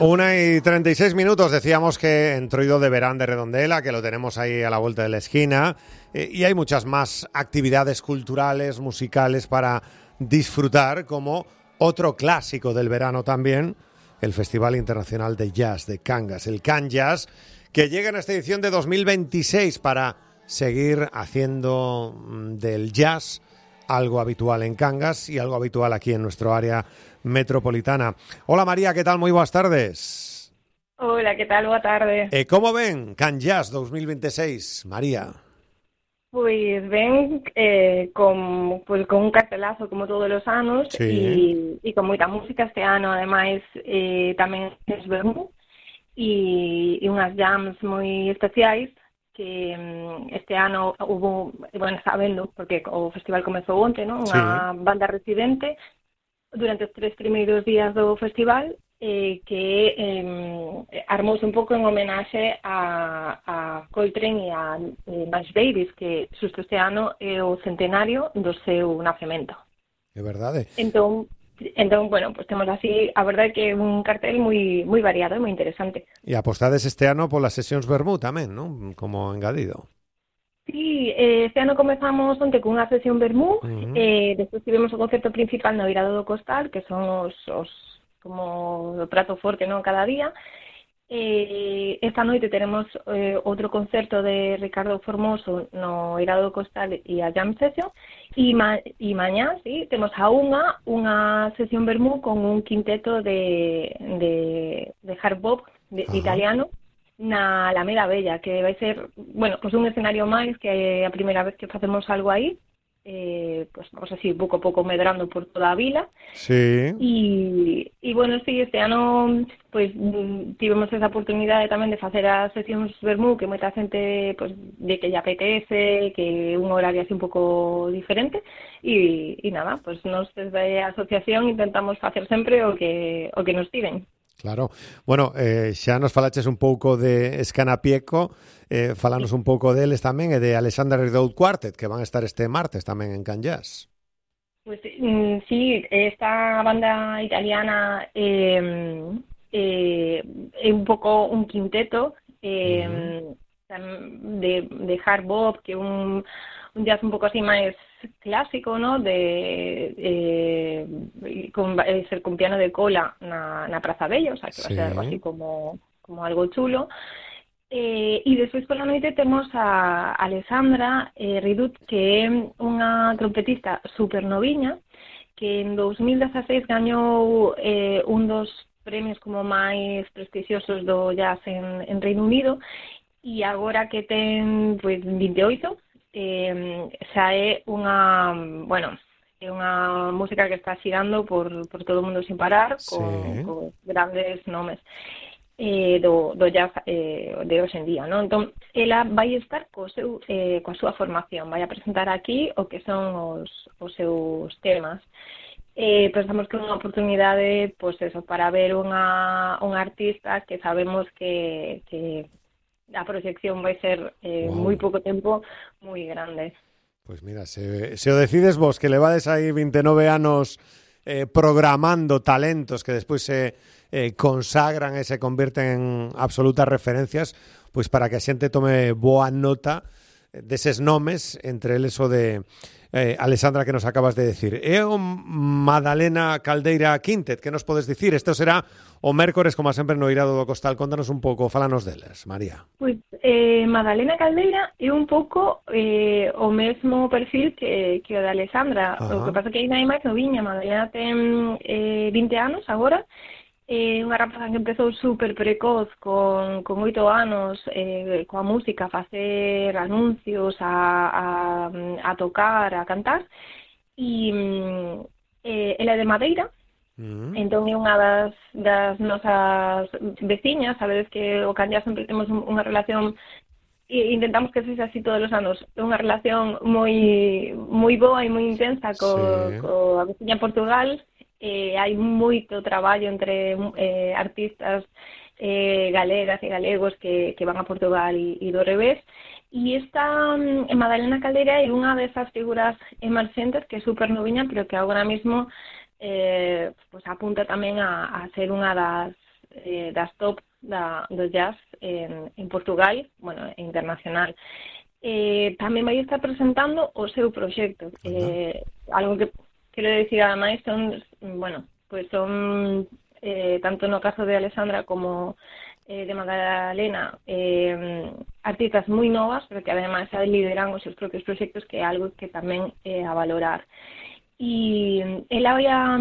1:36, decíamos que Entroido de Verán de Redondela, que lo tenemos ahí a la vuelta de la esquina, y hay muchas más actividades culturales, musicales para disfrutar, como otro clásico del verano también, el Festival Internacional de Jazz de Cangas, el Can Jazz, que llega en esta edición de 2026 para seguir haciendo del jazz algo habitual en Cangas y algo habitual aquí en nuestro área metropolitana. Hola María, ¿qué tal? Muy buenas tardes. Hola, ¿qué tal? Boa tarde. ¿Cómo ven Can Jazz 2026, María? Pues ven con un cartelazo como todos los anos, Sí. y con moita música este ano, ademais tamén es vermú e unhas jams moi especiais que este ano hubo, bueno, está vendo, porque o festival comezou onte, non? Unha banda residente durante os 3 primeiros días do festival, que armouse un pouco en homenaxe a Coltrane e a Miles Davis, que xusto este ano é o centenario do seu nacemento. É verdade. Entón, bueno, pues temos así, a verdade que un cartel moi variado e moi interesante. E apostades este ano polas sesións vermú tamén, non? Como engadido. Sí, este ano comezamos onte cunha sesión vermú, despois tivemos o concerto principal no Irado do Costal, que son os como o prato forte, non, cada día. Esta noite teremos outro concerto de Ricardo Formoso no Irado do Costal e a Jam Session, e mañá, sí, temos a unha sesión vermú con un quinteto de hard bop italiano na Alameda Bella, que vai ser, bueno, pues un escenario máis, que é a primeira vez que facemos algo aí. Pues vamos así pouco a pouco medrando por toda a vila. Sí. E bueno, sí, este ano pues tivemos esa oportunidade tamén de facer as sesións vermú, que moita xente pues de que lle apetece, que é un horario así un pouco diferente, e nada, pues nos desde a asociación intentamos facer sempre o que nos piden. Claro. Bueno, xa nos falaches un pouco de Escanapieco, falanos un pouco deles tamén, e de Alexander Rideout Quartet, que van a estar este martes tamén en Can Jazz. Pues sí, esta banda italiana é un pouco un quinteto de hard bop, que un jazz un pouco así máis clásico, ¿no? Ser con piano de cola na Praza Bella, o sea, que va a ser algo así como algo chulo. E despois pola noite temos a Alessandra Rideout, que é unha trompetista super noviña, que en 2016 gañou un dos premios como máis prestixiosos do jazz en Reino Unido, e agora que ten pues 28, xa é unha, bueno, é unha música que está xirando por todo o mundo sin parar, con grandes nomes do jazz de hoxe en día, non? Entón, ela vai estar coa súa formación, vai a presentar aquí o que son os seus temas. Pensamos que é unha oportunidade, pois eso, para ver unha artista que sabemos que a proxección vai ser moi pouco tempo, moi grande. Pois mira, se o decides vos, que levades aí 29 anos programando talentos que despois se consagran e se convirten en absolutas referencias, pois para que a xente tome boa nota deses nomes, entre eles o de Alessandra, que nos acabas de decir. É o Madalena Caldeira Quintet, que nos podes dicir? Isto será o mércores, como sempre, no Irado do Costal. Contanos un pouco, fálanos deles, María. Pois Madalena Caldeira é un pouco o mesmo perfil que o de Alessandra. O que pasa que aí hai máis noviña. Madalena ten 20 anos agora. Unha rapaza que empezou super precoz, con 8 anos, coa música, a facer anuncios, a tocar, a cantar, e ela é de Madeira. Entón é unha das nosas veciñas. Sabedes que o Can Jazz sempre temos unha relación, e intentamos que sexa así todos os anos, unha relación moi boa e moi intensa coa veciña Portugal. Hai moito traballo entre artistas galegas e galegos que van a Portugal e do revés, e esta Madalena Caldeira é unha desas figuras emerxentes que é super noviña, pero que agora mesmo pues apunta tamén a ser unha das top do jazz en Portugal, bueno, internacional. Tamén vai estar presentando o seu proxecto. Algo que quero dicir ademais son, bueno, pues son tanto no caso de Alessandra como de Magdalena, artistas moi novas, pero que ademais lideran os seus propios proxectos, que é algo que tamén é a valorar. E ela vai a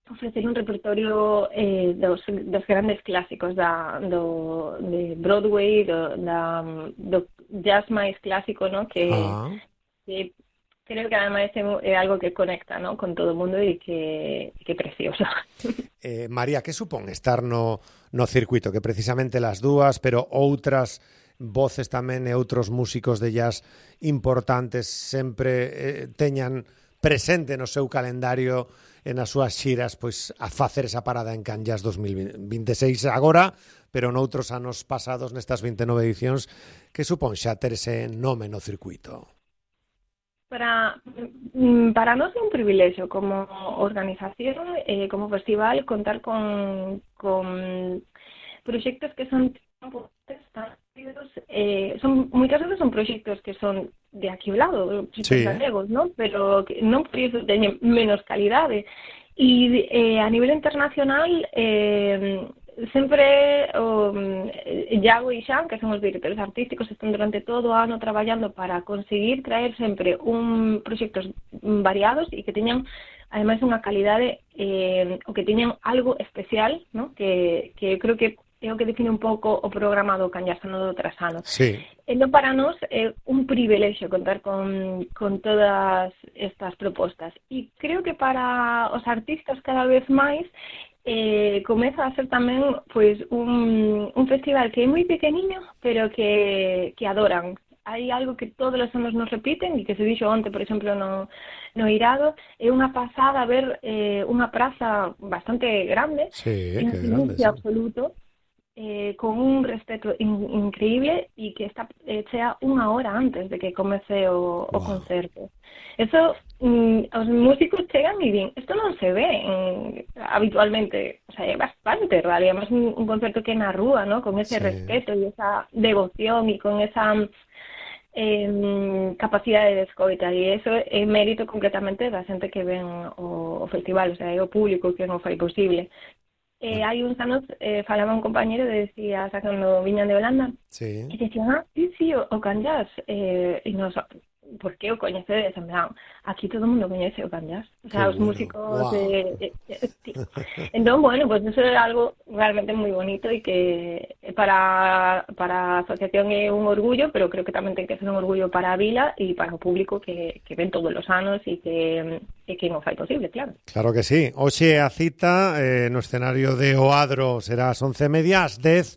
ofrecer un repertorio dos grandes clásicos de Broadway, do jazz máis clásico, ¿no? que creo que además é algo que conecta, ¿no? con todo o mundo e que é precioso. María, que supón estar no circuito? Que precisamente las dúas, pero outras voces tamén e outros músicos de jazz importantes sempre teñan presente no seu calendario e nas súas xiras pois a facer esa parada en Can Jazz 2026 agora, pero noutros anos pasados nestas 29 edicións. Que supón xa ter ese nome no circuito? Para nós é un privilexio como organización, como festival, contar con proxectos que son moitas veces son proxectos que son de aquí ao lado, proxectos galegos, ¿no? Pero que non por iso teñen menos calidade. E a nivel internacional sempre Iago e Xan, que son os directores artísticos, están durante todo o ano traballando para conseguir traer sempre proxectos variados e que teñan ademais unha calidade o que teñan algo especial, ¿no? que creo que é o que define un pouco o programa do Can Jazz ano do tras ano. Sí. Entón, para nós é un privilexio contar con todas estas propostas. E creo que para os artistas cada vez máis comeza a ser tamén pois un festival que é moi pequeniño, pero que adoran. Hai algo que todos os anos nos repiten e que se dixo onte, por exemplo, no Irado. É unha pasada ver unha praza bastante grande, en silencio absoluto, con un respeto increíble e que está chea unha hora antes de que comece o concerto. Eso, os músicos chegan e din, isto non se ve habitualmente, o sea, é bastante raro, e además un concerto que é na rúa, ¿no? Con ese respeto e esa devoción e con esa capacidade de escoita, e eso é mérito completamente da xente que ven o festival, o sea, é o público que non fai posible. Hai uns anos falaba un compañero e decía, sacando viñan de Holanda, e decían, sí, o Can Jazz, e nos, por que o coñecedes? En plan, aquí todo o mundo coñece o Can Jazz, o sea, os músicos entón, bueno, pues eso é algo realmente moi bonito e que para a asociación é un orgullo, pero creo que tamén ten que ser un orgullo para a vila e para o público que ven todos os anos e que non fai posible, claro. Claro que sí. Hoxe a cita no escenario de Oadro será ás 11:30, ás 10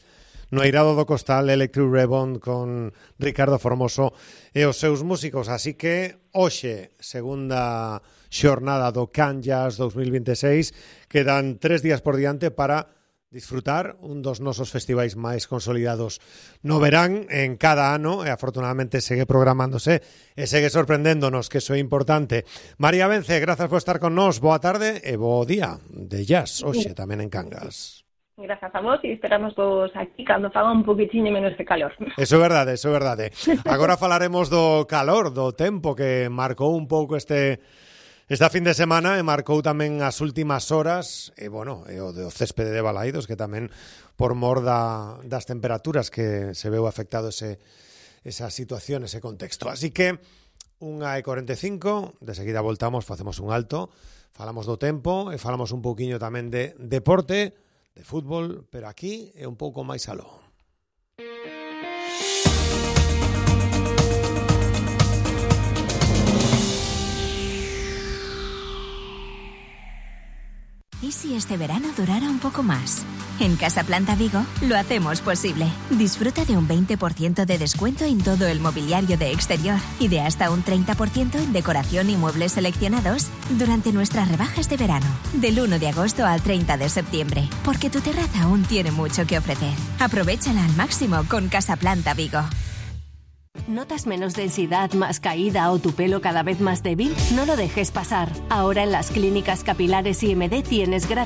no Eirado do Costal, Electric Rebound con Ricardo Formoso e os seus músicos. Así que hoxe, segunda xornada do Can Jazz 2026, quedan 3 días por diante para disfrutar un dos nosos festivais máis consolidados no verán en cada ano, e afortunadamente segue programándose e segue sorprendéndonos, que iso é importante. María Vence, grazas por estar con nós, boa tarde e bo día de jazz hoxe tamén en Cangas. Grazas a vos e esperamos vos aquí cando faga un poquitiño menos de calor. Eso é verdade, eso é verdade. Agora falaremos do calor, do tempo que marcou un pouco esta fin de semana e marcou tamén as últimas horas, e bueno, e o do céspede de Balaídos, que tamén por mor das temperaturas que se veu afectado esa situación, ese contexto. Así que 1:45, de seguida voltamos, facemos un alto, falamos do tempo e falamos un pouquiño tamén de deporte, de fútbol, pero aquí é un pouco máis aló. ¿Y si este verano durara un poco más? En Casa Planta Vigo lo hacemos posible. Disfruta de un 20% de descuento en todo el mobiliario de exterior y de hasta un 30% en decoración y muebles seleccionados durante nuestras rebajas de verano, del 1 de agosto al 30 de septiembre, porque tu terraza aún tiene mucho que ofrecer. Aprovéchala al máximo con Casa Planta Vigo. ¿Notas menos densidad, más caída o tu pelo cada vez más débil? No lo dejes pasar. Ahora en las clínicas capilares IMD tienes gratis